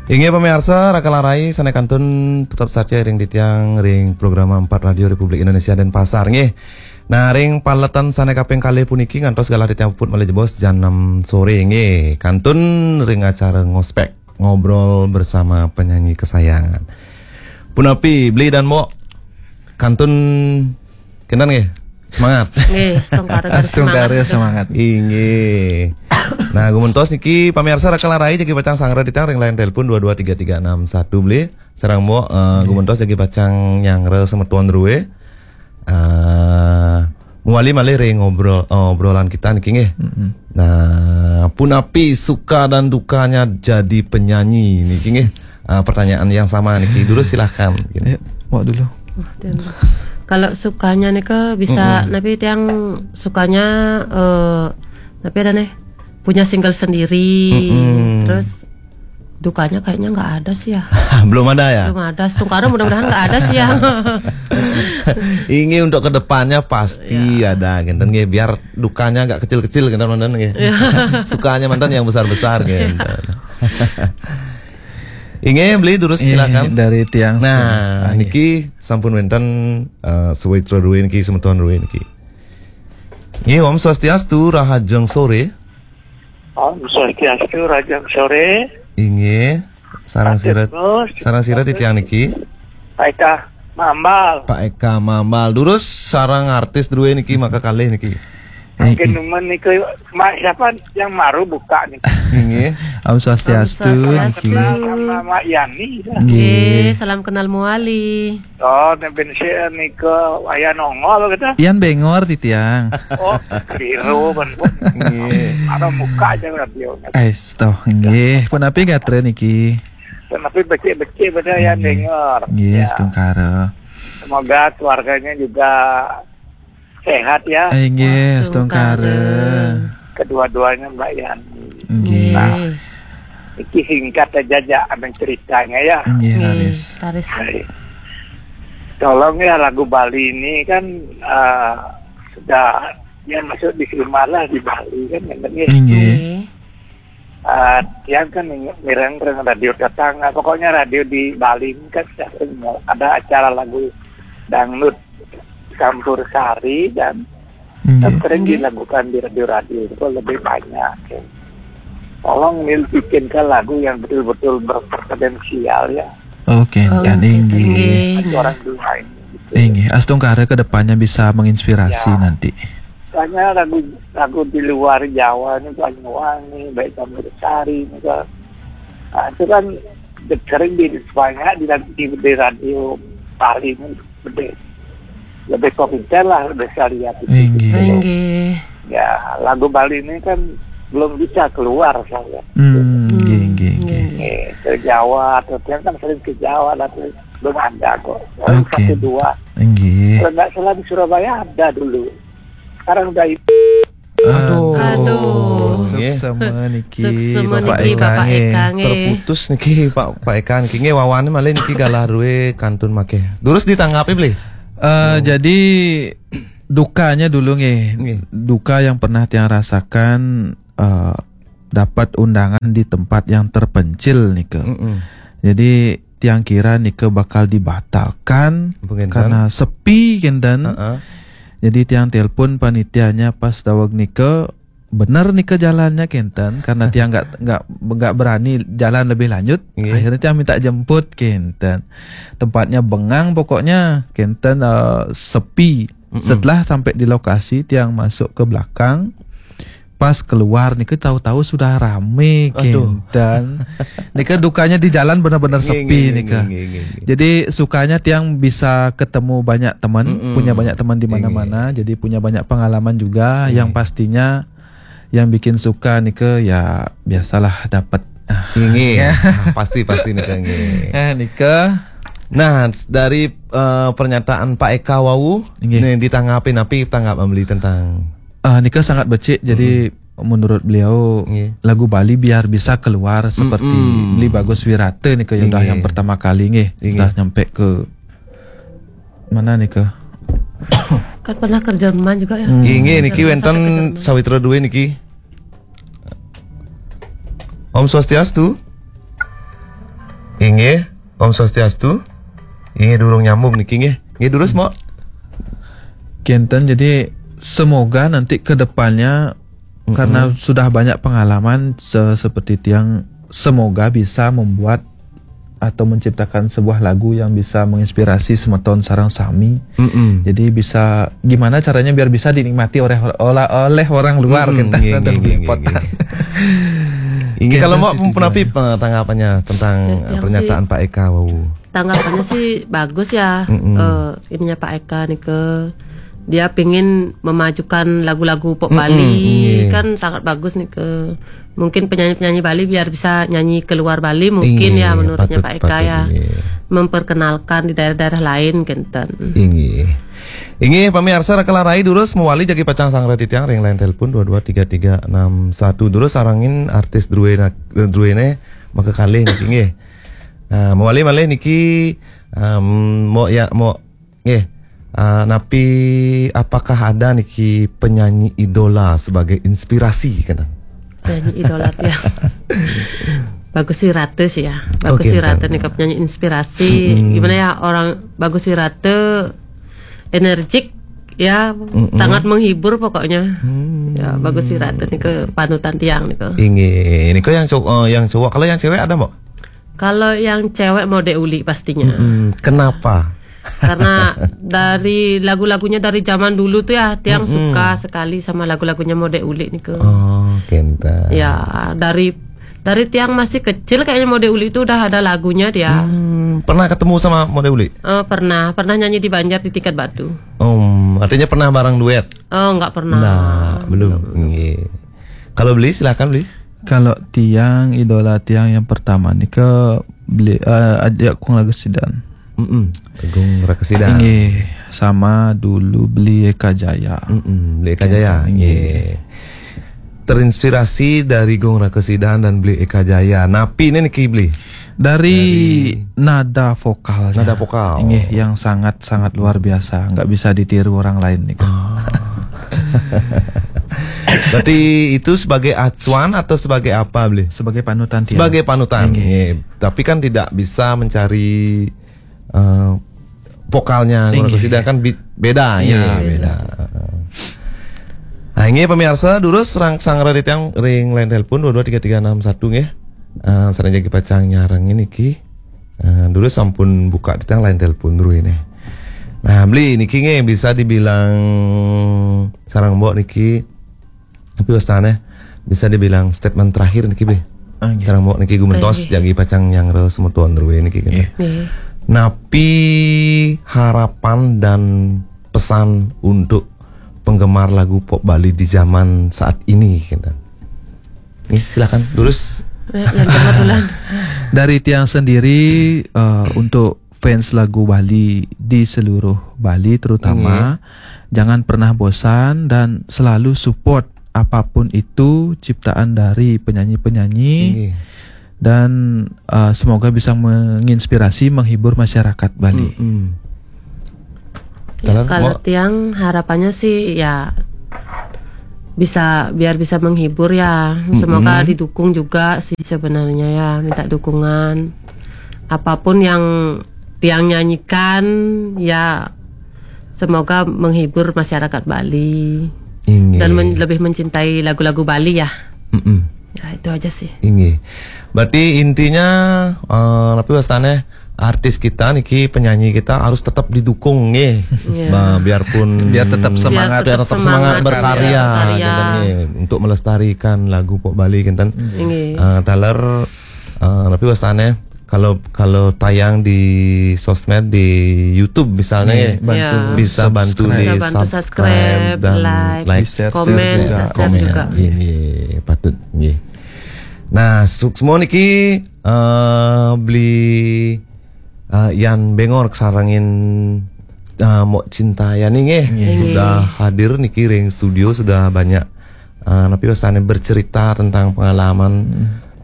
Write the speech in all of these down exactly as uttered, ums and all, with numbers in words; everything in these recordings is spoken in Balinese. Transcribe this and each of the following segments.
Inggih pamiarsa, Raka lan Rai sané kantun tetep satia ring titiang ring programa empat Radio Republik Indonesia Denpasar nggih. Nah, ring paletan sané kaping kalih puniki ngantos galah titiang puput malih jebos jam enam sore nggih. Kantun ring acara ngospek, ngobrol bersama penyanyi kesayangan. Punapi, Bli dan Mbok? Kantun kénten nggih. Semangat. Nggih, astungkara garis semangat. Inggih. Nah, gumentos niki pamiarsa Raka lan Rai jagi pacang sangra titiang ring line telepon dua dua tiga tiga enam satu, Bli. Sareng Mbok, eh, gumentos jagi pacang nyangra semeton drué. Eh, mawali malih ring ngobrol, eh, obrolan kita niki nggih. Nah, punapi suka dan dukanya jadi penyanyi niki nggih. Eh, pertanyaan yang sama niki. Durus silahkan. Ayo, Mbok dulu. Kalau sukanya nih ke bisa, tapi tiang sukanya, eh, tapi ada nih punya single sendiri. Terus dukanya kayaknya nggak ada sih ya. Belum ada ya? Belum ada. Astungkara mudah-mudahan nggak ada sih ya. Ini untuk kedepannya pasti ada, gitu nggih, biar dukanya agak kecil-kecil gitu manten nggih. Sukanya manten yang besar-besar gitu. Inggih, Bli, durus silakan. Dari tiang. Nah, niki sampun wénten, eh, sawitra drué niki, semeton drué niki. Nggih, Om Swastiastu, rahajeng sore. Om Swastiastu, rahajeng sore. Inggih. Sareng sira, sareng sira titiang niki. Pak Eka Mambal. Pak Eka Mambal. Durus sareng artis drué niki maka kalih niki. Mungkin nemen niku Mak siapa yang baru buka nih. Inggih. Om Swastiastu. Kenal sama Mak Yani. Nggih, salam kenal mawali. Oh, nek ben sik nika wayah nongol gitu. Yan bengor titiang. Oh, keliru ben. Nggih. Ada buka aja radio. Ais toh nggih. Punapi gatra niki? Tapi becik-becik pada yang dengar. Nggih, astungkara. Semoga keluarganya juga sehat ya. Inggih, astungkara. Kedua-duanya Mbak Yani. Nggih. Iki singkat aja aja abang ceritanya ya. Nggih, raris. Raris. Tolong ya lagu Bali ini kan eh, sudah ya masuk di film lah di Bali kan yang penting Nggih. eh, tiang kan mireng-reng radio tetangga, pokoknya radio di Bali ini kan sering ada acara lagu dangdut campur sari dan kan sering dilakukan di radio-radio itu lebih banyak. Ya. Tolong Nil bikinkan lagu yang betul-betul berpreferensial ya. Oke, kan inggih. Orang dua ini. Inggih, astungkara ke depannya bisa menginspirasi nanti. Soalnya lagu lagu di luar Jawa ini Banyuwangi, baik Campur Sari ini kan. Nah, itu kan sering di banyak di, di, di radio Bali ini lebih lebih populer lah, lebih saya lihat itu. Inggih. Inggih. Ya, lagu Bali ini kan belum bisa keluar saya. Hmm, nggih, nggih, nggih. Eh, ke Jawa atau dia kan sering ke Jawa tapi belum ada kok. Paling Oke. Satu dua. Inggih. Kalau nggak salah di Surabaya ada dulu. Sekarang udah itu. Aduh. Aduh. Nggih. Suksema niki. Suksema Bapak niki, Eka Bapak nggih. Eka nggih. Terputus niki Pak Pak Eka niki nggih, wawané malih niki galah drué kantun makéh. Durus ditanggapi, Bli? Eh, jadi dukanya dulu nggih. Nggih. Duka yang pernah tiang rasakan, eh, dapat undangan di tempat yang terpencil nika. Mm-mm. Jadi tiang kira nika bakal dibatalkan Penginten. karena sepi kenten. Heeh. Jadi tiang telepon panitianya pas daweg nika, bener nika jalannya kenten, karena tiang nggak nggak nggak berani jalan lebih lanjut. Nggih. Akhirnya tiang minta jemput kenten. Tempatnya bengang pokoknya kenten, eh, sepi. Setelah sampai di lokasi tiang masuk ke belakang. Pas keluar nika tahu-tahu sudah rame Aduh. kenten. Nika dukanya di jalan benar-benar Nggih, sepi nggih, nika. nggih, nggih, nggih. Jadi sukanya tiang bisa ketemu banyak teman, Mm-mm. punya banyak teman di Nggih, mana-mana. Jadi punya banyak pengalaman juga. Nggih. Yang pastinya yang bikin suka nika ya biasalah dapat. Nggih. Nah, pasti pasti nika nggih. Eh nika. Nah, dari eh, pernyataan Pak Eka wau, Nggih. nih ditanggapi napi tanggap Bli tentang Ah, nika sangat becik, jadi menurut beliau Nggih. lagu Bali biar bisa keluar seperti Mm-mm. Beli Bagus Wirata nika ya udah Nggih. Yang pertama kali nggih. Nggih. Sudah nyampe ke mana nika? Kan pernah ke Jerman juga ya. Inggih niki Jerman wénten sampai ke Jerman. sawitra drué niki. Om Swastiastu. Inggih, Om Swastiastu. Inggih, durung nyambung niki, nggih. Nggih, durus, Mbok. Kenten, jadi semoga nanti ke depannya, karena sudah banyak pengalaman se- seperti tiang, semoga bisa membuat atau menciptakan sebuah lagu yang bisa menginspirasi semeton sareng sami. Mm-mm. Jadi bisa, gimana caranya biar bisa dinikmati oleh oleh, oleh orang luar, kita nggih, nggih, nggih, nggih. Inggih, kalau mau, punapi tanggapannya tentang pernyataan Pak Eka wau? Tanggapannya sih bagus ya. Mm-mm. Eh, ininya Pak Eka nih ke, dia pingin memajukan lagu-lagu pop Bali, kan sangat bagus nih ke. Mungkin penyanyi-penyanyi Bali biar bisa nyanyi keluar Bali, mungkin ya, menurutnya Pak Eka ya. Memperkenalkan di daerah-daerah lain, kenten. Inggih. Inggih, pamiarsa, raka larai durus mawali jagi pacang sanggra titiang ring line telepon dua dua tiga tiga enam satu. Durus sarengin artis druéné, druéné makakalih niki, inggih. Nah, mawali malih niki, em, mau ya, mau, nggih. Ah, napi, apakah ada niki penyanyi idola sebagai inspirasi, kenten? Penyanyi idola tiang. Bagus Wirata sih ya. Bagus Wirata nih, penyanyi inspirasi. Gimana ya, orang Bagus Wirata energik ya, sangat menghibur pokoknya. Ya, Bagus Wirata nih ke panutan tiang nih ke. Inggih, ini kok yang cowok, eh, yang cowok. Kalau yang cewek ada, Mbok? Kalau yang cewek Mode Uli pastinya. Mm-mm. Kenapa? Karena dari lagu-lagunya dari zaman dulu tuh ya, tiang suka sekali sama lagu-lagunya Mode Uli nih ke. Oh, kenten. Ya, dari dari tiang masih kecil kayaknya Mode Uli itu udah ada lagunya dia. Hmm, pernah ketemu sama Mode Uli? Eh, pernah, pernah nyanyi di Banjar di Tingkat Batu. Om, artinya pernah bareng duet? Oh, nggak pernah. Nah, belum. Nggih. Kalau Bli, silakan, Bli. Kalau tiang, idola tiang yang pertama nih ke Bli, eh, Adik Agung Ragesidan. Mm-mm. Agung Ragesidan. Inggih, sama dulu Bli Eka Jaya. Mm-mm, Bli Eka Jaya. Inggih. Terinspirasi dari Gung Ragesidan dan Bli Eka Jaya. Napi ini niki, Bli? Dari nada vokalnya. Nada vokal. Inggih, yang sangat-sangat luar biasa, nggak bisa ditiru orang lain nih, Kak. Ah. Berarti itu sebagai acuan atau sebagai apa, Bli? Sebagai panutan tiang. Sebagai panutan. Inggih. Inggih. Tapi kan tidak bisa mencari, eh, vokalnya Gung Ragesidan kan bi- beda, iya, beda. Heeh. Nah, ini pemirsa, durus sanggra titiang ring line telepon dua dua tiga tiga enam satu, nggih. Eh, sareng jagi pacang nyarengin niki. Eh, durus sampun buka titiang line telepon dulu ini. Nah, Bli niki, nggih, bisa dibilang sareng Mbok niki, tapi wastane bisa dibilang statement terakhir niki, Bli. Ah, nggih. Sareng Mbok niki gumentos, nggih, jagi pacang nyanggra semeton ruwe niki, kan. Nggih. Nggih. Napi harapan dan pesan untuk penggemar lagu pop Bali di zaman saat ini, kan? Nggih, silakan, durus. Ya, yang kebetulan. Dari tiang sendiri, eh, untuk fans lagu Bali di seluruh Bali terutama, jangan pernah bosan dan selalu support apapun itu ciptaan dari penyanyi-penyanyi. Inggih. Dan, eh, semoga bisa menginspirasi, menghibur masyarakat Bali. Mm-mm. Ya, kalau tiang harapannya sih ya bisa, biar bisa menghibur ya. Semoga didukung juga sih sebenarnya ya, minta dukungan. Apapun yang tiang nyanyikan ya, semoga menghibur masyarakat Bali. Inggih. Dan men- lebih mencintai lagu-lagu Bali ya. Mm-mm. Ya, itu aja sih. Inggih. Berarti intinya, eh, napi wastane artis kita niki, penyanyi kita harus tetap didukung, nggih. Iya. Nah, biarpun biar tetap semangat, biar tetap semangat berkarya, berkarya, gitu, nggih, untuk melestarikan lagu pop Bali, kenten. Inggih. Eh, taler, eh, napi wastane, kalau, kalau tayang di sosmed, di YouTube misalnya, nggih, ya, bantu, bisa bantu subscribe. Bisa bantu subscribe, subscribe dan like, like, share, komen, share juga. Share juga. Nggih, nggih, patut, nggih. Nah, suksma niki, eh, Bli, eh, Yan Bengor sarengin, eh, Mbok Cinta Yani, nggih. Nggih. Sudah hadir niki ring studio, sudah banyak, eh, napi wastane bercerita tentang pengalaman,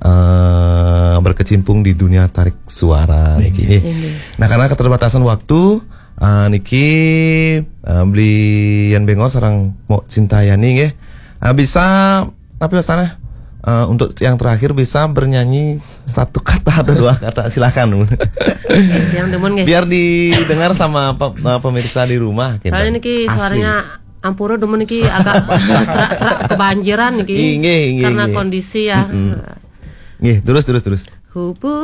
eh, berkecimpung di dunia tarik suara niki, nggih. Nggih. Nah, karena keterbatasan waktu, eh, niki, eh, Bli Yan Bengor sareng Mbok Cinta Yani, nggih. Eh, bisa, napi wastane, eh, untuk yang terakhir bisa bernyanyi Satu kata atau dua kata, silakan. Yang demen nggih. Biar didengar sama pe- eh, pemirsa di rumah gitu. Soalnya niki Asli. Suaranya ampura demen niki agak serak-serak kebanjiran niki. Inggih, inggih, Karena inggih. Kondisi ya. Mm-mm. Nggih, terus terus terus. Hubungan